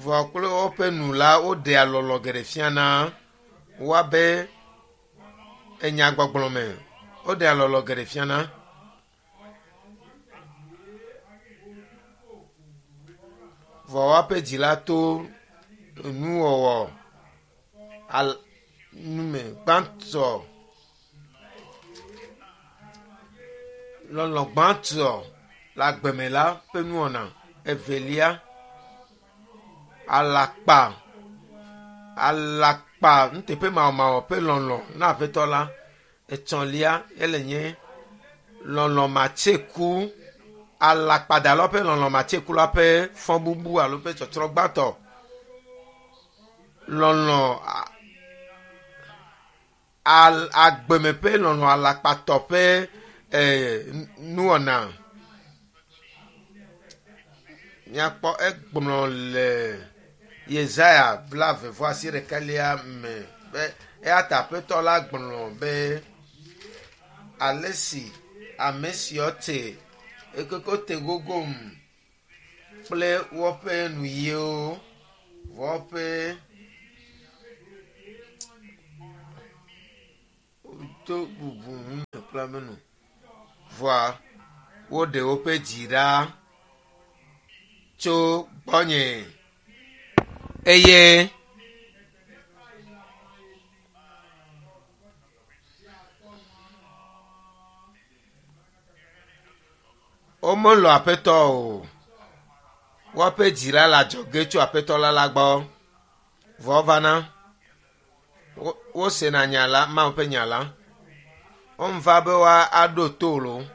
Vɔ kple woƒe nu la woɖea lɔlɔ geɖe fiana woabe enyagbɔgblɔ me. Woɖea lɔlɔ geɖe fiana. Vɔ woaƒe dzi la to nuwɔwɔ al nume gbãtɔ lɔlɔ gbãtɔ le agbeme la ƒe nuwɔna. Evelia alakpa alakpa nuteƒemawɔmawɔ ƒe lɔlɔ na aƒetɔ la. Etɔ̃lia ele nye lɔlɔ matseku alakpadalawo ƒe lɔlɔ matseku la ƒe fɔbubu alo ƒe tsɔtsrɔ̃ gbãtɔ. Lɔlɔ al agbeme ƒe lɔlɔ alakpatɔ ƒe eh, nuwɔna. Míakpɔ egblɔ le Yesaya blaeve vɔ asiɖekelia me be eya ta aƒetɔ la gblɔ be ale si ame siwo te ekeke te gogom kple woƒe nuyiwo woƒe do bubu ŋu kple kple woƒe nu. Vɔa woɖe woƒe dzi ɖa tso gbɔnye eye womelɔ̃ Aƒetɔ o. Woaƒe dzi la le adzɔge tso Aƒetɔ la la gbɔ. Vɔ wovana, wosena nya la, Mawu ƒe nya la. Womva be woaɖo to loo.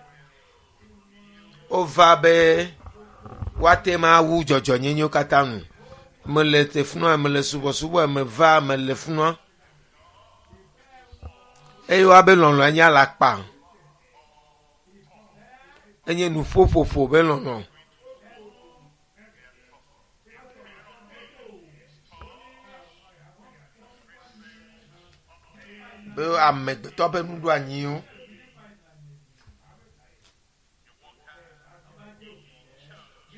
Wova be woate ŋu awu dzɔdzɔnyenyewo katã nu. Mele te funua, mele subɔsubɔ, meva, mele funua. Eye woabe lɔlɔ̃ nye alakpa. Enye nuƒoƒoƒo be lɔlɔ̃. Be amegbetɔ ƒe nuɖoanyiwo.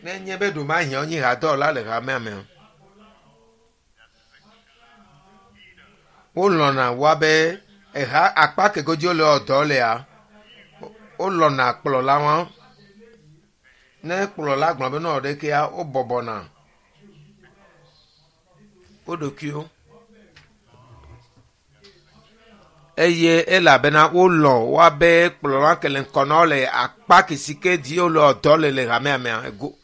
Ne nye be ɖomahiã wonye hadɔwɔla le hamea me. Wolɔ̃na woabe eha akpa ke godzi wole wɔ dɔ lea, wolɔ̃na kplɔla wɔn. Ne kplɔla gblɔ be nɔ ɖekea, wobɔbɔna wo ɖokuiwo. Eye elabena wolɔ̃ woabe kplɔla ke le ŋkɔ na wo le akpa ke si ke dzi wole wɔ dɔ le le hamea mea ego.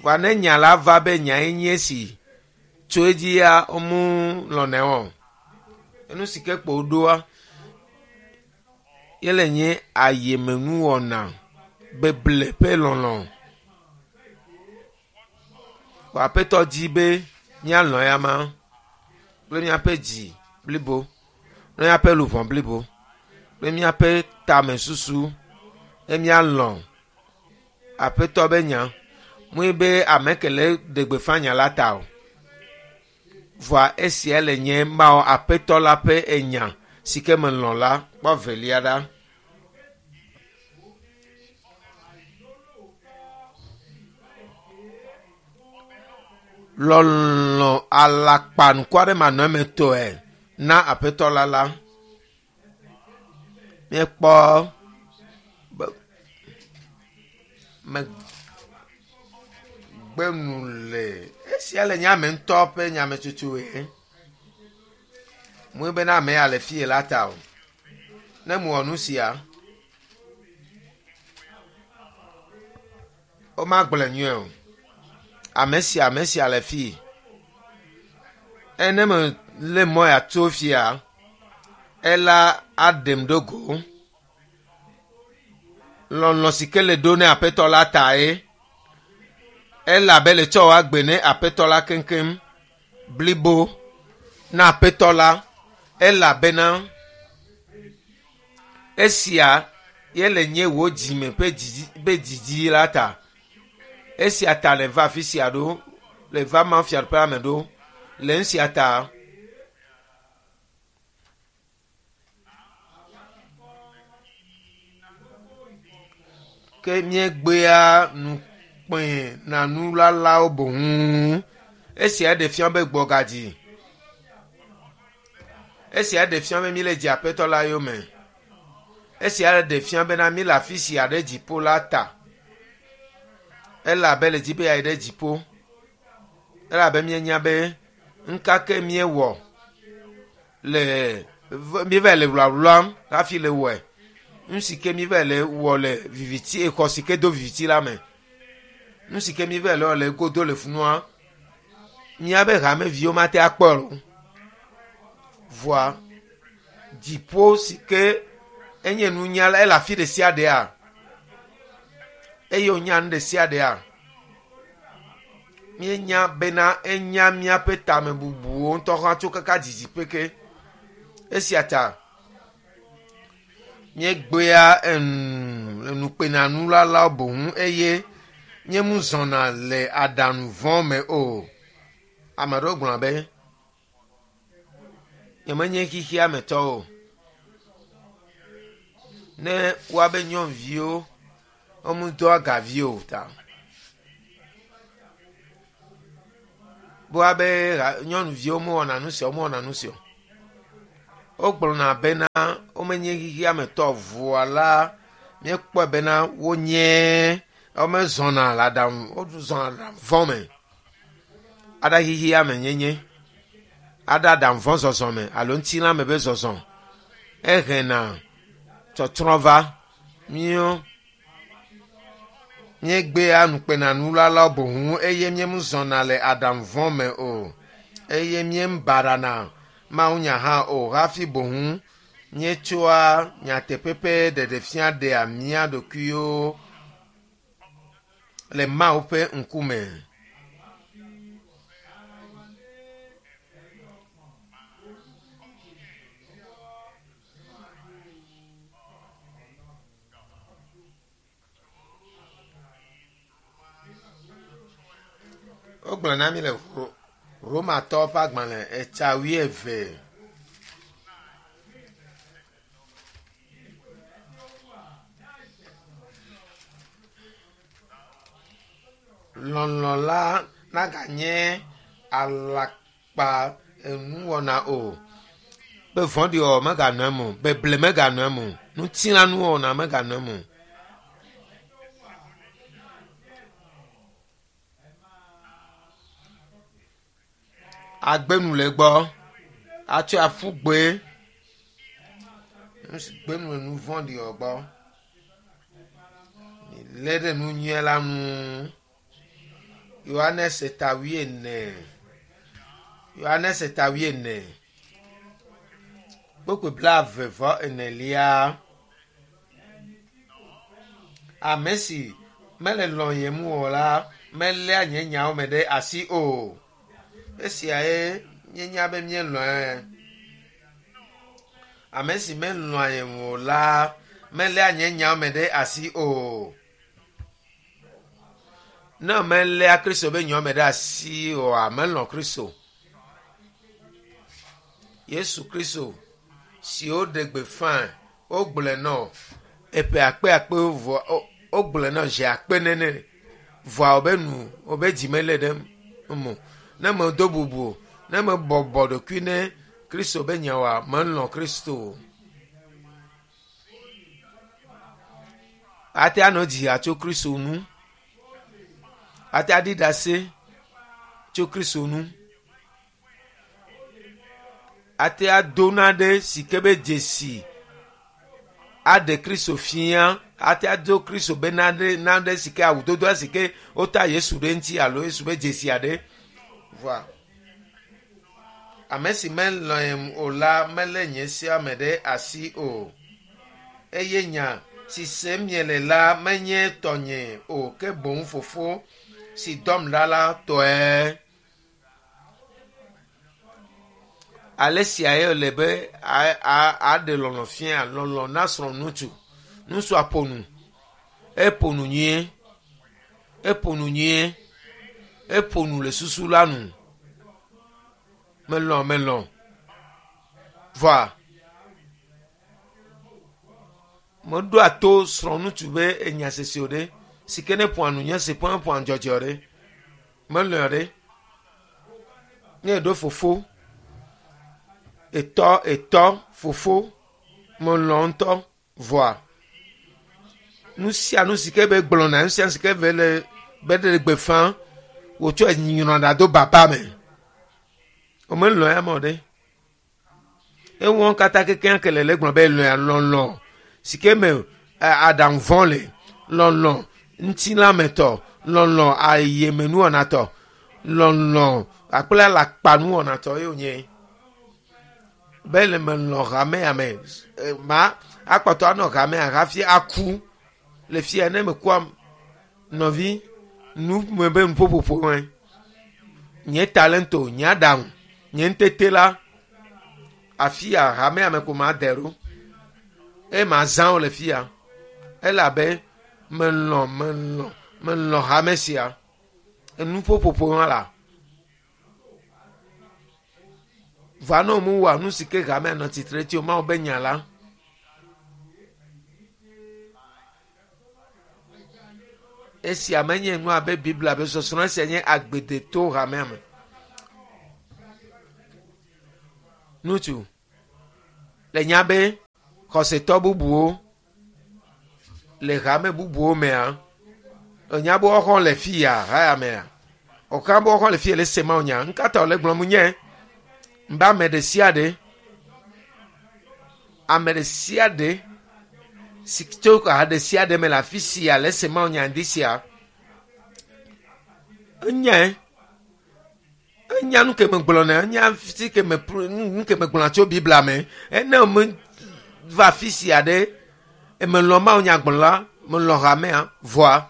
Vɔa ne nya la va be nyae nye esi tso edzia womelɔ̃nɛ o. Enu si ke kpo woɖoa yele nye ayemenuwɔna beble ƒe lɔlɔ̃. Vɔ Aƒetɔ dzi be míalɔ̃ eyama kple míaƒe dzi blibo, kple míaƒe luʋɔ blibo, kple míaƒe tamesusu ne míalɔ̃ Aƒetɔ be nya. Mue be ame ke le ɖe gbeƒã nya la ta o. Vɔa esia le nye Mawu Aƒetɔ la ƒe enya si ke melɔ̃ la kpɔ velia ɖa. Lɔlɔ̃ alakpanukɔ aɖe manɔ eme tɔe na Aƒetɔ la la. Míekpɔ be megbe nu le esia le nye ame ŋutɔ ƒe nyametsotsoe. Mue bena ame ya le fie la ta o. Ne mewɔ nu sia, womagblɔe nyuie o. Ame sia ame sia le fie. Ene mele mɔ ya tso fia, ela aɖem ɖo go. Lɔlɔ̃ si ke le ɖo ne Aƒetɔ la tae. Elabe le tsɔ woagbe ne Aƒetɔ la keŋkeŋ blibo na Aƒetɔ la elabena esia ye le nye wò dzime ƒe dzidzi ƒe dzidzi la ta. Esia ta le va afi sia ɖo, le va Mawu fiaɖuƒea me ɖo. Le nusia ta ke míegbea nukpẽ na nulalawo boŋ. Esia ɖe fia be gbɔgadzi. Esia ɖe fia be míele dzi Aƒetɔ la yome. Esia ɖe fia bena míele afi sia ɖe dziƒo la ta. Elabe le dzi be yeayi ɖe dziƒo. Elabe míenya be nuka ke míewɔ le míeva le wlawlam hafi le wɔe. Nu si ke míeva le wɔ le viviti exɔ si ke do viviti la me. Nu si ke míeva le wɔ le godo le funua, míabe hameviwo mate akpɔe o. Vɔa dziƒo si ke enye nunyala ele afi ɖe sia ɖea eye wònya nu ɖe sia ɖea. Míenya bena enya míaƒe tamebubuwo ŋutɔ hã tso kaka didiƒe ke. Esia ta míegbea enu nukpenanulalawo boŋ eye míemuzɔna le aɖaŋu vɔ̃ me o. Ame aɖewo gblɔna be nyemenye xexea me tɔ o. Ne woabe nyɔnuviwo womedoa gavi o ta. Be woabe nyɔnuviwo mewɔna nu sia o, womewɔna nu sia o. Wogblɔna bena womenye xexea me tɔ vɔa la míekpɔe bena wonye womezɔna le aɖaŋu wozɔna le aɖaŋu vɔ̃ me. Aɖa xexea me nyenye aɖa aɖaŋu vɔ̃ zɔzɔ me alo ŋutilã me be zɔzɔ ehena tsɔtsrɔ̃ va míwo míegbea nukpenanulalawo boŋ eye míemuzɔna le aɖaŋu vɔ̃ me o eye míebarana mawunya hã o hafi boŋ míetsɔa nyateƒe ƒe ɖeɖefia ɖea mía ɖokuiwo le Mawu ƒe ŋkume. Wogblɔ na mi le Romatɔwo ƒe agbalẽ etsa wuieve. Lɔlɔ̃ la naganye alakpa enuwɔna o. Be vɔ̃ɖiwɔwɔ meganɔ eme o, beble meganɔ eme o, ŋutilãnuwɔna meganɔ eme o. Agbenu le egbɔ, atsɔe aƒu gbe, nu si gbenu le nu vɔ̃ɖi wɔ gbɔ. Lé ɖe nu nyui la ŋu. Yohanes ta wuiene. Yohanes ta wuiene. Kpukpui blaeve vɔ enelia. Ame si mele lɔ̃yem o la meléa nye nyawo me ɖe asi o. Esiae míenya be míelɔ̃e. Ame si melɔ̃a yem o la meléa nye nyawo me ɖe asi o. Ne meléa Kristo be nyawo me ɖe asi oa, melɔ̃ Kristo. Yesu Kristo si woɖe gbeƒã, wogblɔe nɔ eƒe akpe akpewo vɔ wogblɔe nɔ zi akpe nene vɔa wobe nu wobe dzi mele ɖe eme o. Ne medo bubu o, ne mebɔbɔ ɖokui ne Kristo be nyawoa, melɔ̃ Kristo. Ate anɔ dzi atso Kristo nu. Ate aɖi ɖase tso Kristo nu. Ate ado naɖe si ke be dzesi aɖe Kristo fia. Ate ado Kristo be naɖe naɖe si ke awudodoa si ke wota Yesu ɖe ŋuti alo Yesu be dzesi aɖe. Vɔa ame si melɔ̃em o la melé nye sea me ɖe asi o. Eye nya si sem miele la menye tɔnye o ke boŋ fofo si dɔm ɖa la tɔe. Ale siae wòle be aɖe lɔlɔ̃ fia lɔlɔ̃ na srɔ̃ ŋutsu. Ŋutsua ƒo nu. Eƒo nu nyuie. Eƒo nu nyuie. Eƒo nu le susu la nu. Melɔ̃ melɔ̃. Vɔa meɖoa to srɔ̃ ŋutsu be enya sese o ɖe si ke ne ƒoa nu nye si ƒoa ƒoa dzɔdzɔ ɖe. Melɔ̃ ɖe. Ne eɖo fofo etɔ etɔ fofo melɔ̃ ŋutɔ vɔa nu sia nu si ke be gblɔna nu sia nu si ke be le be ɖe gbeƒã wotsɔ nyrɔna ɖa do baba me. Womelɔ̃ ya me o ɖe. Ewɔ katã kekeake ke le le gblɔ be lɔ̃a lɔlɔ̃ si ke me aɖaŋu vɔ̃ le lɔlɔ̃ ŋutilãmetɔ lɔlɔ̃ ayemenuwɔnatɔ lɔlɔ̃ akple alakpanuwɔnatɔ ye wònye. Be le melɔ̃ hamea me ma akpɔtɔ anɔ hamea hafi aku le fia ne mekua nɔvi nu me be nuƒoƒoƒo me. Nye talento, nye aɖaŋu, nye ŋutete la afia hamea me ko ma de ɖo. Eye mazã wo le fia elabe melɔ̃ melɔ̃ melɔ̃ hame sia. Enuƒoƒoƒo hã la. Va ne womewɔa nu si ke hamea nɔ tsitre tsi o Mawu be nya la. Esia menye nu abe Biblia be sɔsrɔ̃ esia nye agbedeto hamea me. Ŋutsu, Le nya be xɔsetɔ bubuwo le hame bubuwo mea, enya be woxɔ le fi ya haya mea. Ɔka be woxɔ le fi le se ma nya. Nkata wòle gblɔm nye mbe ame ɖe sia ɖe ame ɖe sia ɖe si tso ha ɖe sia ɖe me le afi sia le se ma nya ŋdi sia. Enyae. Enya nu ke me gblɔna, enya si ke me nu ke me gblɔna tso Biblia me. Ene me va afi sia ɖe eme lɔ̃ Mawu nya gblɔla, me lɔ̃ hamea vɔa.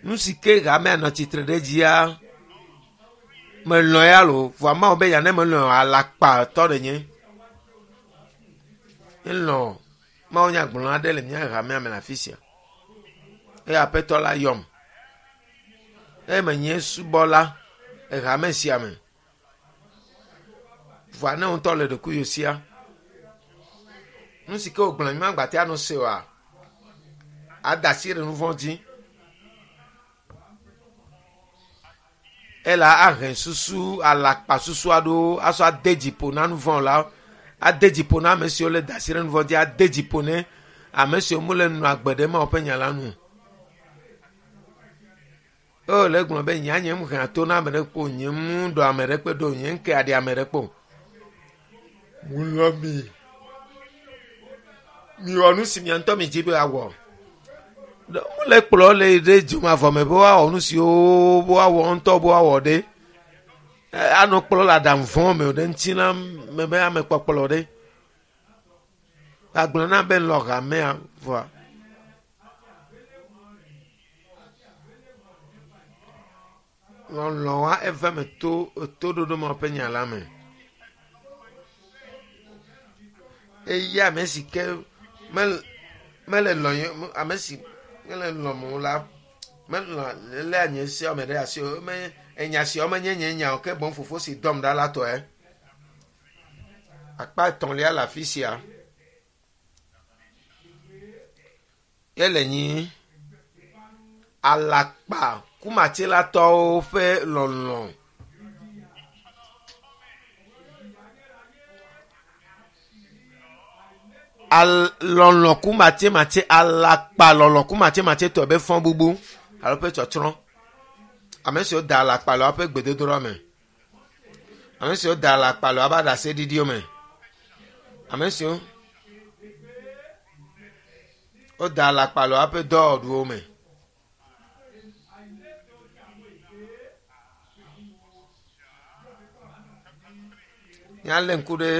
Nu si ke hamea nɔ tsitre ɖe dzia, me lɔ̃ ya lo vɔa Mawu be ya ne me lɔ̃ alakpatɔ ɖe nye. Elɔ̃ Mawu nya gblɔla ɖe le mía hamea me le afi sia. Eye Aƒetɔ la yɔm. Eye menye subɔla le hame sia me. Vɔa ne ŋutɔ le ɖokuiwò sia, nu si ke wògblɔ mi magba te anɔ se oa, ada asi ɖe nu vɔ̃ dzi. Ela ahe susu alakpa susu aɖewo asɔ ade dziƒo na nu vɔ̃ la, ade dziƒo na ame siwo le da asi ɖe nu vɔ̃ dzi, ade dziƒo ne ame siwo mele nɔ agbe ɖe Mawu ƒe nya la nu. O le gblɔ be nya nye hea to na ame ɖe kpo, nye mu ɖɔ ame ɖe kpe ɖo, nye ŋke aɖi ame ɖe kpo. Mulɔ mi. Miwɔ nu si mia ŋutɔ mi dzi be awɔ. Mele kplɔ le ɖe dzomavɔ me be woawɔ nu siwo woawɔ ŋutɔ be woawɔ ɖe. Anɔ kplɔ le aɖaŋu vɔ̃ me o ɖe ŋuti na me be ame kpɔkplɔ ɖe. Agblɔ na be lɔ hamea vɔa. Lɔlɔ̃a eve me to toɖoɖo ma ƒe nya la me. Eye ame si ke mele mele lɔ̃ ame si mele lɔ̃m o la, melɔ̃ léa nye seawo me ɖe asi o. Me enya siawo menye nye nya o ke boŋ fofo si dɔm ɖa la tɔe. Akpa etɔ̃lia le afi sia. Ele nyi alakpa kumatsilatɔwo ƒe lɔlɔ̃. Al lɔlɔ̃ kumatsimatsi alakpa lɔlɔ̃ kumatsimatsitɔ be fɔ bubu alo ƒe tsɔtsrɔ̃. Ame siwo da alakpa le woƒe gbedodoɖa me. Ame siwo da alakpa le woƒe aɖaseɖiɖiwo me. Ame siwo woda alakpa le woƒe dɔwɔɖuwo me. Míalé ŋku ɖe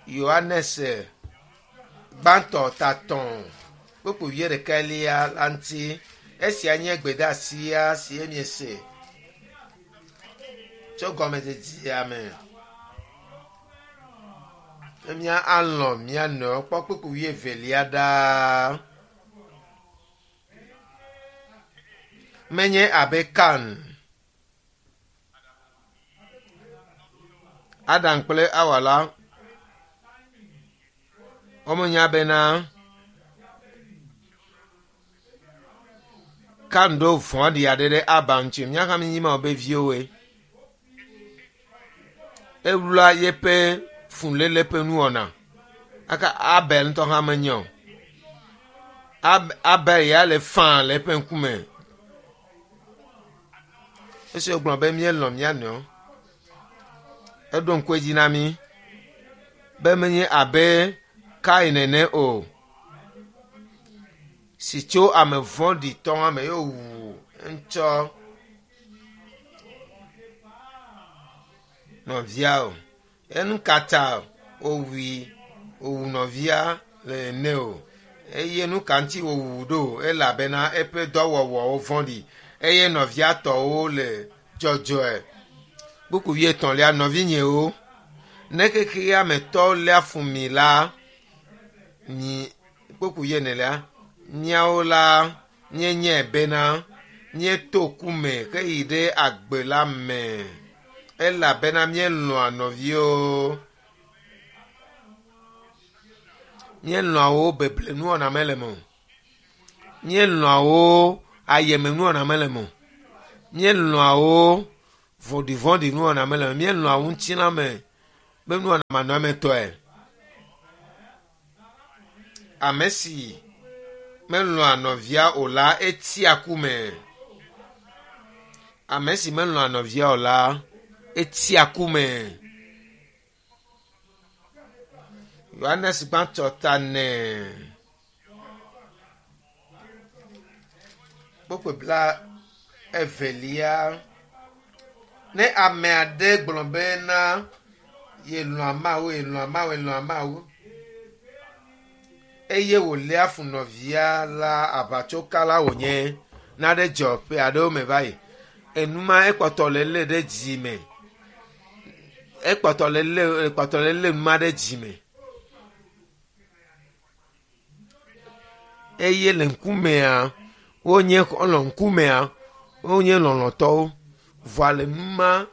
Yohanes gbãtɔ tatɔ̃ kpukpui wuiɖekɛlia la ŋuti. Esia nye gbedeasia si miese tso gɔmedzedzea me. Ne mía alɔ̃ mía nɔewo kpɔ kpukpui wuievelia ɖaa. Menye abe Kan, Adam kple Awa la, womenya bena Kan ɖo vɔ̃ɖi aɖe ɖe Abel ŋuti. Míawo hã míenye Mawu be viwoe. Ewlua yeƒe fuléle ƒe nuwɔna. Aka Abel ŋutɔ hã menye o. Abel ya le faa le eƒe ŋkume. Esi wògblɔ be míelɔ̃ mía nɔewo, eɖo ŋku edzi na mí be menye abe Kain ene o, si tso ame vɔ̃ɖitɔ me ye wòwu ŋutsɔ nɔvia o. Enu ka ta wòwui wòwu nɔvia le ene o. Eye nu ka ŋuti wòwu ɖo elabena eƒe dɔwɔwɔwo vɔ̃ɖi eye nɔvia tɔwo le dzɔdzɔe. Kpukpui wuietɔ̃lia, nɔvinyewo, ne xexea me tɔwo léa fu mi la, mi kpukpui wuienelia, míawo la míenyae bena míeto ku me heyi ɖe agbe la me elabena míelɔ̃a nɔviwo. Míelɔ̃a wo beble nuwɔna mele me o. Míelɔ̃a wo ayeme nuwɔna mele me o. Míelɔ̃a wo vɔ̃ɖivɔ̃ɖi nuwɔna mele me o. Míelɔ̃a wo ŋutilã me Be nuwɔna manɔametɔe. Ame si melɔ̃a nɔvia o la, etsia ku me. Ame si melɔ̃a nɔvia o la, etsia ku me. Yohanes gbãtɔ ta nɛ. Kpukpui bla evelia. Ne ame aɖe gblɔ bena yelɔ̃a Mawu, yelɔ̃a Mawu, yelɔ̃a Mawu eye wòléa fu nɔvia la, aʋatsokala wònye. Naɖe dzɔ ƒe aɖewo me va yi. Enuma ekpɔtɔ le lé ɖe dzime. Ekpɔtɔ le lé, ekpɔtɔ le lé numa ɖe dzime. Eye le ŋkumea, wonye xɔlɔ̃ ŋkumea, wonye lɔlɔ̃tɔwo. Vɔa le numa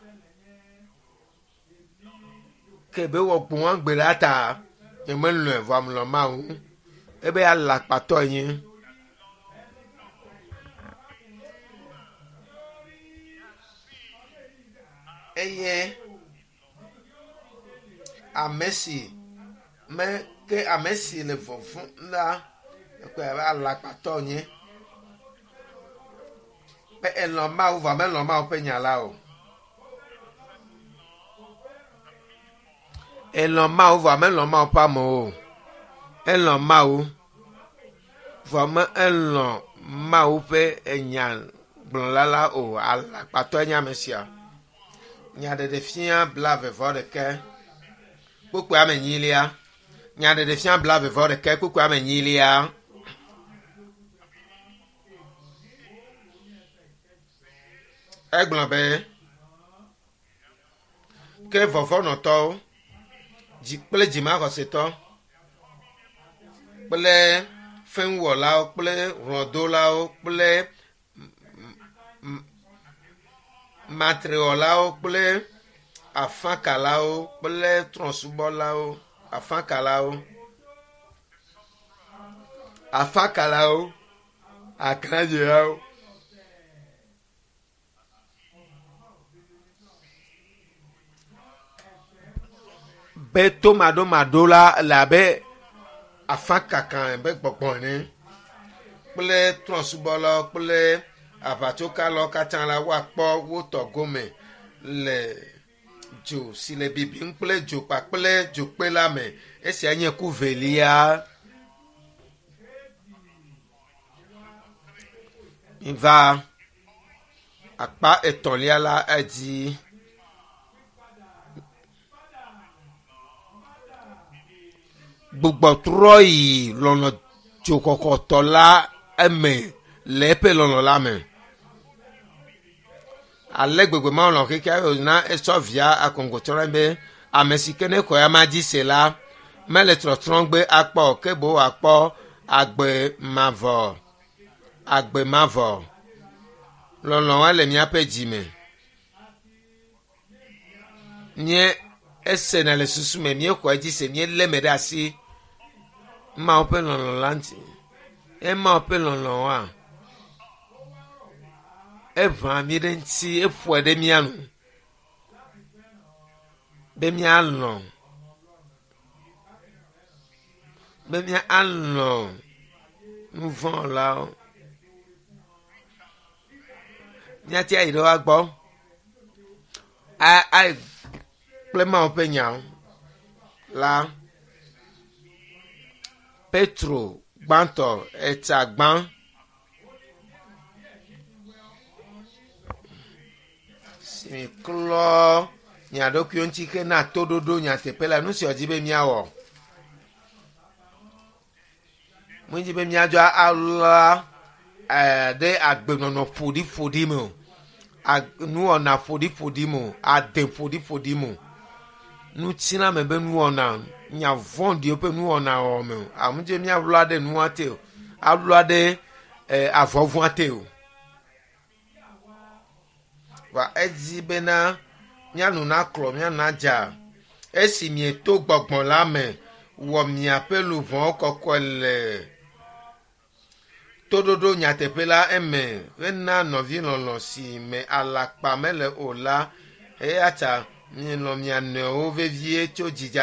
ke be wɔ gbɔ̃ gbe la ta, nyemelɔ̃e vɔa melɔ̃ Mawu. Ebe alakpatɔ nye. Eye ame si me ke ame si le vɔvɔ̃m la, ekpɔe abe alakpatɔ nye. Be elɔ̃ Mawu vɔa melɔ̃ Mawu ƒe nya la o. Elɔ̃ Mawu vɔa melɔ̃ Mawu ƒe amewo o. Elɔ̃ Mawu vɔa me elɔ̃ Mawu ƒe enya gblɔla la o. Alakpatɔe nye ame sia. Nyaɖeɖefia blaeve vɔ ɖeke kpukpui ame enyilia. Nyaɖeɖefia blaeve vɔ ɖeke kpukpui ame enyilia. Egblɔ be ke vɔvɔnɔtɔwo dzi kple dzimaxɔsetɔ kple fɛ̃wɔlawo kple hlɔ̃dolawo kple matrewɔlawo kple afakalawo kple trɔ̃subɔlawo, afakalawo, afakalawo, akladzelawo. Be tomaɖomaɖo la le abe afakaka be gbɔgbɔ ene kple trɔ̃subɔlawo kple aʋatsokalawo katã la woakpɔ wo tɔ gome le dzo si le bibim kple dzo kpakple dzokpe la me. Esia nye ku velia. Va akpa etɔ̃lia la edzi. Gbugbɔtrɔ yi lɔlɔ̃ dzoxɔxɔtɔ la eme le eƒe lɔlɔ̃ la me. Ale gbegbe Mawu lɔ̃ xexea wòna etsɔ via akoŋgotsɔ be ame si ke ne xɔ ya ma dzi se la mele trɔtrɔgbe akpɔ o, ke boŋ wòakpɔ agbe mavɔ. Agbe mavɔ. Lɔlɔ̃a le míaƒe dzime. Míe esena le susu me, míexɔe dzi se, míelé me ɖe asi. Mawu ƒe lɔlɔ̃ la ŋuti. Emawu ƒe lɔlɔ̃a, eʋã mí ɖe ŋuti, eƒoe ɖe mía nu be míalɔ̃, be míalɔ̃ nuvɔ̃lawo. Míate ayi ɖe woa gbɔ a ayi kple Mawu ƒe nya la. Petro gbãtɔ etsa gbã. Si miklɔ mia ɖokuiwo ŋuti hena toɖoɖo nyateƒe la, nu si wòdi be míawɔ. Medzi be míadzɔ alɔa ɖe agbenɔnɔ ƒoɖiƒoɖi me o, nuwɔna ƒoɖiƒoɖi me o, ade ƒoɖiƒoɖi me o, ŋutilãme be nuwɔna, nya vɔ̃ɖiwo ƒe nuwɔna wɔwɔ me o. Amedzi be míalɔa ɖe nua te o, alɔa ɖe avɔvɔa te o. Va edzi bena míanu naklɔ, míanu nadza. Esi mieto gbɔgbɔ la me wɔ miaƒe luʋɔwo kɔkɔe le toɖoɖo nyateƒe la eme hena nɔvilɔlɔ̃ si me alakpa mele o la, eya ta Mielɔ̃ mia nɔewo vevie tso dzidza